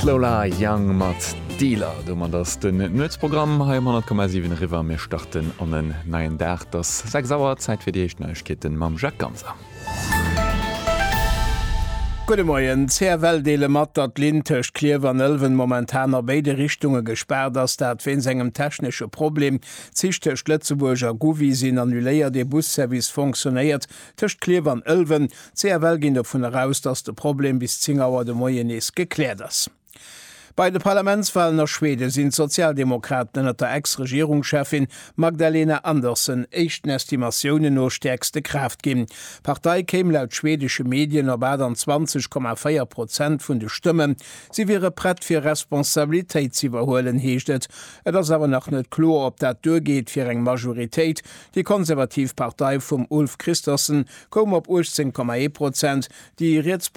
D'Lola Young mat Dealer. Domat ass den Nuetsprogramm hei um 100,7 eriwwer. Mir starten an en neien Dag. Et ass 6 Auer, Zäit fir déi éischt Neiegkeeten mam Jacques Ganser. Gudde Moien. D'CFL deele mat, datt d'Linn tëscht Klierf an Ëlwen momentan a béide Richtunge gespaart ass, dat wéinst engem technesche Problem. D'Zich tëscht Lëtzebuerg a Gouvy sinn annuléiert, ee Busservice fonctionnéiert tëscht Klierf an Ëlwen. D'CFL ginn dovun eraus, datt de Problem bis 10 Auer de Moien nees gekläert ass. Bei de Parlamentswalen a Schweden sinn d'Sozialdemokraten ënnert der Ex-Regierungscheffin Magdalena Andersson éischten Estimatiounen no stäerkste Kraaft ginn. D'Partei kéim laut schwedesche Medien op 28,4 Prozent vun de Stëmmen. Si wiere prett fir Responsabilitéit z'iwwerhuelen, heescht et. Et ass awer nach net kloer, ob dat duergeet fir eng Majoritéit. Déi konservativ Partei vum Ulf Kristersson koum op 18,1 Prozent, déi rietspopulistesch.